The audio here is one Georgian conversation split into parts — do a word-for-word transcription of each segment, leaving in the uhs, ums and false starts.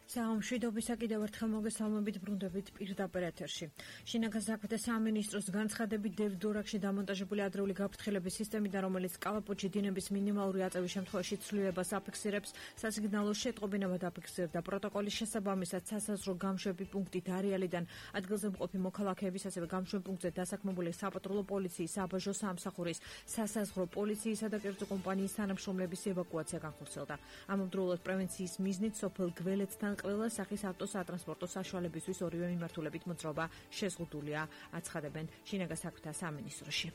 საამშვიდობისა კიდევ ერთხელ მოგესალმებით ბრუნდებით პირდაპირ ეთერში. შინაგან საქმეთა სამინისტროს განცხადებით დევდორაკში დამონტაჟებული ადრეული გაფრთხილების სისტემიდან, რომელიც კალაპოტში დინების მინიმალური აწევის შემთხვევაში ცვლილებას აფიქსირებს, სასიგნალო შეტყობინებად აფიქსირდა პროტოკოლის შესაბამისად სასაზღვრო გამშვები პუნქტი დარიალიდან ადგილზე მყოფი მოქალაქეების, ასევე გამშვებ პუნქტზე დასაქმებული საპატრულო პოლიციის, საბაჟო სამსახურის, სასაზღვრო პოლიციისა და კერძო კომპანიის თანამშრომლების ევაკუაცია განხორციელდა. ამავდროულად პრევენციის მიზნით სოფელ გველეცთან ყველა სახის ავტოსატრანსპორტო საშუალებისთვის ორივე მიმართულებით მოძრაობა შეზღუდულია, აცხადებენ შინაგან საქმეთა სამინისტროში.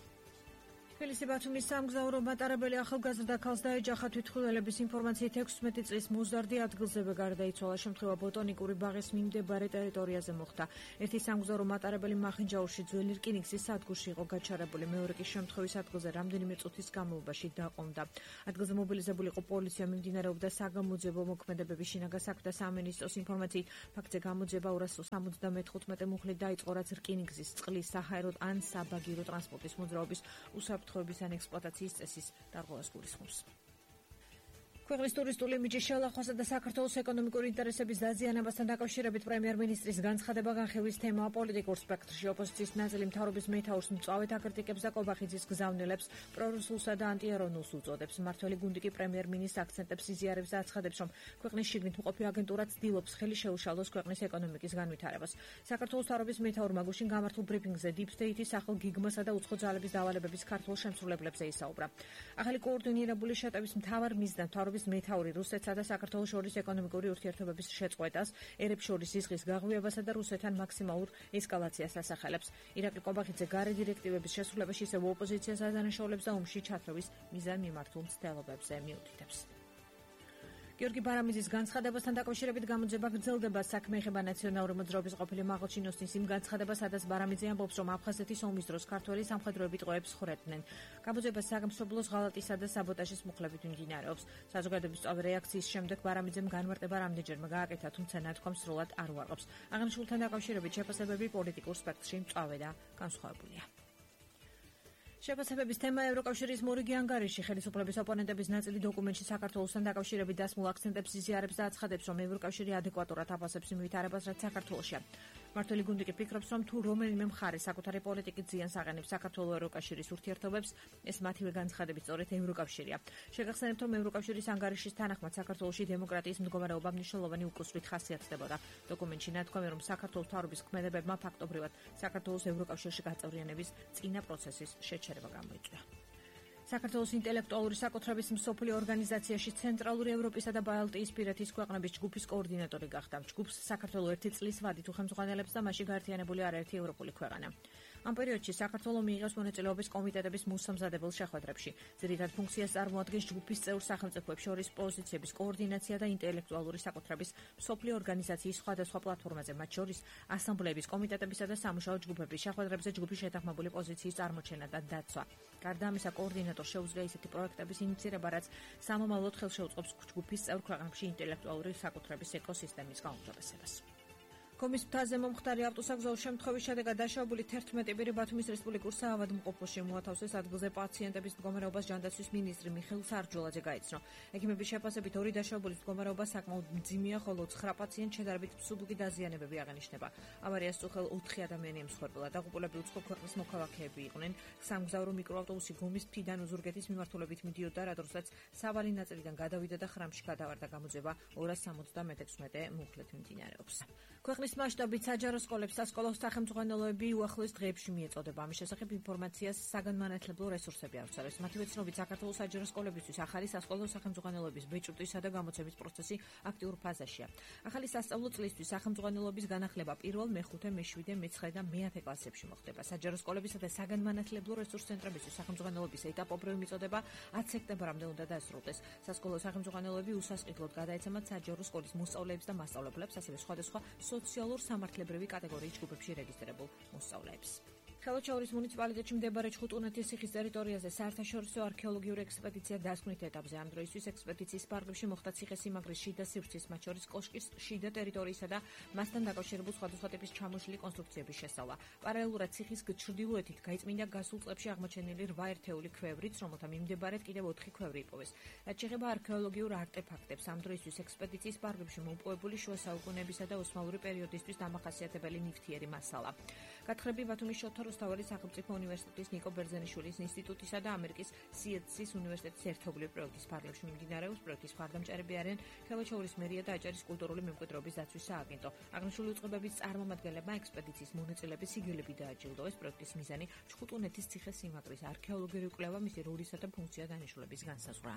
თბილისი ბათუმის სამგზავრო მატარებელი ახალგაზრდა ქალს დაეჯახა თვითმხილველების ინფორმაციით ექვსმეტი წლის მოზარდი ადგილზევე გარდაიცვალა. შემთხვევა ბოტონიკური ბაღის მიმდებარე ტერიტორიაზე მოხდა. ერთი სამგზავრო მატარებელი მახინჯაურში ძველი რკინიგზის სადგურში იყო გაჩარებული. მეორე კი შემთხვევის ადგილზე რამდენიმე წუთის განმავლობაში დაყომდა. ადგილზე მობილიზებული იყო პოლიცია, მიმდინარეობდა საგამოძიებო მოქმედებები. შინაგან საქმეთა სამინისტროს ინფორმაციით ფაქტზე გამოძიება ორას სამოცდამეხუთმეტე მუხლით დაიწყო, რაც რკინიგზის, წყლის, საჰაერო ან საბაგირო ტრანსპორტის მოძრაობის უსაფრთხოების ან ექსპლუატაციის წესის დარღვევას გულისხმობს. ქვეყნის ტურისტული იმიჯის შელახვასა და საქართველოს ეკონომიკური ინტერესების დაზიანებასთან დაკავშირებით პრემიერ-მინისტრის განცხადება განხილვის თემაა პოლიტიკურ სპექტრში. ოპოზიციის ნაწილი მთავრობის მეთაურს მწვავედ აკრიტიკებს და კობახიძის გზავნილებს პრორუსულსა და ანტიეროვნულს უწოდებს. მმართველი გუნდი კი პრემიერ-მინისტრს აქცენტებს იზიარებს და აცხადებს, რომ ქვეყნის შიგნით მყოფი აგენტურა ცდილობს ხელი შეუშალოს ქვეყნის ეკონომიკის განვითარებას. საქართველოს მთავრობის მეთაურმა გუშინ გამართულ ბრიფინგზე დიპ სტეიტის ახალ გიგმასა და უცხო ძალების დავალებების ქართულ შემსრულებლებზე ისაუბრა. ახალი კოორდინირებული შეტევის მთავარ მიზნად მეთაური რუსეთსა და საქართველოს შორის ეკონომიკური ურთიერთობების შეწყვეტას, ერებს შორის ზიზღის გაღვივებასა და რუსეთთან მაქსიმალურ ესკალაციას ასახელებს. ირაკლი კობახიძე გარე დირექტივების შესრულებაში ისევ ოპოზიციას ადანაშაულებს და ომში ჩათრევის მიზანმიმართულ მცდელობებზე მიუთითებს. გიორგი ბარამიძის განცხადებასთან დაკავშირებით გამოძიება გრძელდება. საქმე ეხება ნაციონალური მოძრაობის ყოფილი მაღალჩინოსნის იმ განცხადებას, სადაც ბარამიძე ამბობს, რომ აფხაზეთის ომის დროს ქართველი სამხედროები ტყვეებს ხვრეტდნენ. გამოძიება სამსოფლოს ღალატისა და საბოტაჟის მუხლებით მიმდინარეობს. საზოგადოების სწავე რეაქციის შემდეგ ბარამიძემ განმარტება რამდენჯერმე გააკეთა, თუმცა ნათქვამს სრულად არ უარყოფს. აღნიშნულთან დაკავშირებით შეფასებები პოლიტიკურ სპექტრში მწვავე და განსხვავებულია. შეფასებების თემა ევროკავშირის მორიგი ანგარიში. ხელისუფლების ოპონენტების ნაწილი დოკუმენტში საქართველოსთან დაკავშირებით დასმულ აქცენტებს იზიარებს და აცხადებს, რომ ევროკავშირი ადეკვატურად აფასებს იმ ვითარებას, რაც საქართველოშია. მმართველი გუნდი კი ფიქრობს, რომ თუ რომელიმე მხარე საკუთარი პოლიტიკით ზიანს აყენებს საქართველოს ევროკავშირის ურთიერთობებს, ეს მათივე განცხადებით სწორედ ევროკავშირია. შეგახსენებთ, რომ ევროკავშირის ანგარიშის თანახმად საქართველოში დემოკრატიის მდგომარეობა მნიშვნელოვანი უკუსრით ხასიათდებოდა. დოკუმენტში ნათქვამია, რომ საქართველოს მთავრობის ქმედებებმა ფაქტობრივად საქართველოს ევროკავშირში გაწევრიანების წინა პროცესის შეჩერება გამოიწვია. საქართველოს ინტელექტუალური საკუთრების მსოფლიო ორგანიზაციაში ცენტრალური ევროპისა და ბალტიისპირეთის ქვეყნების ჯგუფის კოორდინატორი გახდა. ჯგუფს საქართველოს ერთი წლის ვადით უხელმძღვანელებს და მასში გაერთიანებული არაერთი ევროპული ქვეყანა. ამ პერიოდში საქართველოს მიიღებს მონაწილეობის კომიტეტების მოსამზადებელ შეხვედრებში. ძირითად ფუნქციას წარმოადგენს ჯგუფის წევრ სახელმწიფოებს შორის პოზიციების კოორდინაცია და ინტელექტუალური საკუთრების მსოფლიო ორგანიზაციის სხვადასხვა პლატფორმაზე, მათ შორის ასამბლეების, კომიტეტებისა და სამუშაო ჯგუფების შეხვედრებზე ჯგუფის შეთანხმებული პოზიციის წარმოჩენა და დაცვა. გარდა ამისა, კოორდინატორს შეუძლია ისეთი პროექტების ინიციირება, რაც სამომავლოდ ხელშეუწყობს ჯგუფის წევრ ქვეყნებში ინტელექტუალური საკუთრების ეკოსისტემის გაუმჯობესებას. კომის მთაზე მომხდარი ავტოსაგზაო შემთხვევის შედეგად დაშავებული თერთმეტი პირი ბათუმის რესპუბლიკურ საავადმყოფოში მოათავსეს. ადგილზე პაციენტების მდგომარეობას ჯანდაცვის მინისტრი მიხეილ სარჯულაძე გაიცნო. ექიმების შეფასებით ორი დაშავებულის მდგომარეობა საკმაოდ მძიმეა, ხოლო ცხრა პაციენტს შედარებით მსუბუქი დაზიანებები აღენიშნება. ავარიას წუხელ ოთხი ადამიანი ემსხვერპლა. დაღუპულები უცხო ქვეყნის მოქალაქეები იყვნენ. სამგზავრო მიკროავტობუსი გომის მთიდან უზურგეთის მიმართულებით მიდიოდა, რადგანაც სავალი ნაწილიდან გადავიდა და ხრამში გადავარდა. გამოძიება ორას სამოცდამეექვსმეტე მუხლით მიმდინარეობს. ქვეყნის მასშტაბით საჯარო სკოლებს სასკოლო სახელმძღვანელოები უახლოეს დღეებში მიეწოდება. ამის შესახებ ინფორმაციას საგანმანათლებლო რესურსები ავრცელებს. მათივე ცნობით, საქართველოს საჯარო სკოლებისთვის ახალი სასკოლო სახელმძღვანელოების ბეჭდვისა და გამოცემის პროცესი აქტიურ ფაზაშია. ახალი სასწავლო წლისთვის სახელმძღვანელოების განახლება პირველ, მეხუთე, მეშვიდე, მეცხრე და მეათე კლასებში მოხდება. საჯარო სკოლებისა და საგანმანათლებლო რესურს ცენტრებისთვის სახელმძღვანელოების ეტაპობრივი მიწოდება ათი სექტემბრამდე უნდა დასრულდეს. სასკოლო სახელმძღვანელოები უსასყიდლოდ გადაეცემათ საჯარო სკოლის მოსწავლეებს და მასწავლებლებს, ასევე სხვადასხვა სოციალურ სამართლებრივი კატეგორიის ჯგუფებში რეგისტრირებულ მოსწავლეებს. ხელოჩაურის მუნიციპალიტეტში მდებარე ჩხუტუნეთის ციხის ტერიტორიაზე საერთაშორისო არქეოლოგიური ექსპედიცია დასკვნით ეტაპზე. ამ დროისთვის ექსპედიციის პარკში მოხდა ციხე-სიმაგრის შიდა სივრცის, მათ შორის კოშკის შიდა ტერიტორიისა და მასთან დაკავშირებულ სხვადასხვა ტიპის ჩამოშლილი კონსტრუქციების შესწავლა. პარალელურად ციხის ჩრდილოეთით გაიწმინდა გასულ წლებში აღმოჩენილი რვა ერთეული ქვევრიც, რომელთა მიმდებარედ კიდევ ოთხი ქვევრი იპოვეს. რაც შეეხება არქეოლოგიურ არტეფაქტებს, ამ დროისთვის ექსპედიციის პარკში მოპოვებული შუა საუკუნეებისა და ოსმალური პერიოდისთვის დამახასიათებელი ნივთიერი მასალა. გათხრები ბათუმის შოთა რუსთაველის სახელმწიფო უნივერსიტეტის ნიკო ბერძენიშვილის ინსტიტუტისა და ამერიკის სიეტსის უნივერსიტეტის ერთობლივ პროექტის ფარგლებში მიმდინარეობს. პროექტის მხარდამჭერები არიან ხელოჩაურის მერია და აჭარის კულტურული მემკვიდრეობის დაცვის სააგენტო. აღნიშნული უწყებების წარმომადგენლებმა ექსპედიციის მონაწილეების სიგელები დააჯილდოვეს. პროექტის მიზანი ჩხუტუნეთის ციხე-სიმაგრის არქეოლოგიური კვლევა, მისი როლისა და ფუნქცია დანიშნულების განსაზღვრა.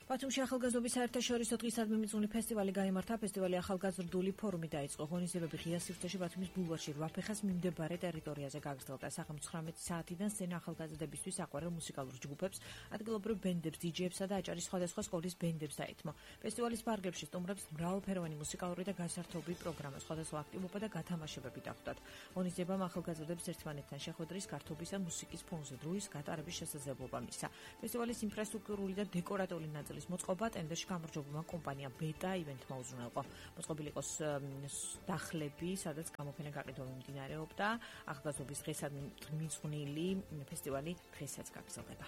ბათუმში ახალგაზრდობის საერთაშორისო დღისადმი მიწვეული ფესტივალი გაიმართა. ფესტივალი ახალგაზრდული ფორუმი დაიწყო. ღონისძიებები ღია სივრცეში ბათუმის ბულვარში რვა ფეხას მიმდებარე ტერიტორიაზე გაგრძელდა. სახელმწიფო ცხრამეტი საათიდან სცენა ახალგაზრდებისთვის აყვარელ მუსიკალურ ჯგუფებს, ადგილობრივ ბენდებს, დიჯეებსა და აჭარის სხვადასხვა სკოლის ბენდებს დაეთმო. ფესტივალის ფარგლებში სტუმრებს მრავალფეროვანი მუსიკალური და გასართობი პროგრამა, სხვადასხვა აქტივობა და გათამაშებები დახვდათ. ღონისძიებამ ახალგაზრდებს ერთმანეთთან შეხვედრის, გართობის და მუსიკის ფონზე დროის გატარების შესაძლებლობა მისცა. ფესტივალის ინფრასტრუქტურული და დეკორატიული ნაწილი მოწყობა ტენდერში გამარჯვებულმა კომპანიამ ბეტა ივენთმა უზრუნველყო. მოწყობილი იყოს დახლები, სადაც გამოფენა გაყიდვა მიმდინარეობდა. ახალგაზრდობის დღესადმი მიწვნილი ფესტივალი დღესაც გაგრძელდება.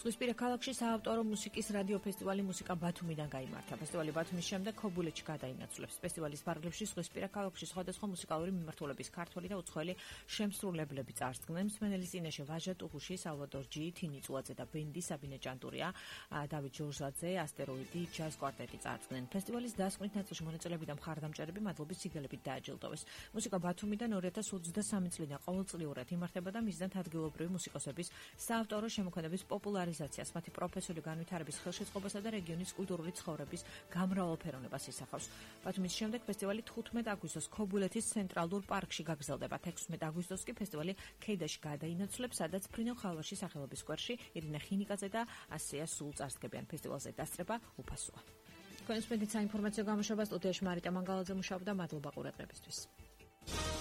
ზღვისპირა ქალაქში საავტორო მუსიკის რადიო ფესტივალი მუსიკა ბათუმიდან გაიმართა. ფესტივალი ბათუმის შემდეგ ქობულეთში გადაინაცვლებს. ფესტივალის ფარგლებში ზღვისპირა ქალაქში სხვადასხვა მუსიკალური მიმართულების ქართველი და უცხოელი შემსრულებლები წარსდგნენ. მსმენელის წინაშე ვაჟა ტუღუში, სალვადორ ჯი, თინი წუაძე და ბენდი საბინე ჭანტურია, დავით ჯორჟაძე, ასტეროიდი, ჯაზ კვარტეტი წარსდგნენ. ფესტივალის დასკვნით ნაწილში მონაწილეები და მხარდამჭერები მადლობის სიგელებით დააჯილდოვეს. მუსიკა ბათუმიდან ორი ათას ოცდასამი წლიდან ყოველწლიურად იმართება და მისდევთ ადგილობრივი მუსიკოსების საავტორო შემოქმედების პოპულარიზაციას, მათი პროფესიული განვითარების ხელშეწყობასა და რეგიონის კულტურული ცხოვრების გამრავალფეროვნებას ისახავს. ბათუმის შემდეგ ფესტივალი თხუთმეტ აგვისტოს ქობულეთის ცენტრალურ პარკში გაგრძელდება. თექვსმეტ აგვისტოს კი ფესტივალი ქედაში გადაინაცვლებს, სადაც ფრინო ხალვაშის სახელობის სკვერში ირინა ხინიკაძე და ასეა სულ წარსდგებიან. ფესტივალზე დასწრება უფასოა. თქვენს მედიცინა ინფორმაციო გამოშვებას სტუდიაში მარიტა მანგალაძე მუშაობდა. მადლობა ყურადღებისთვის.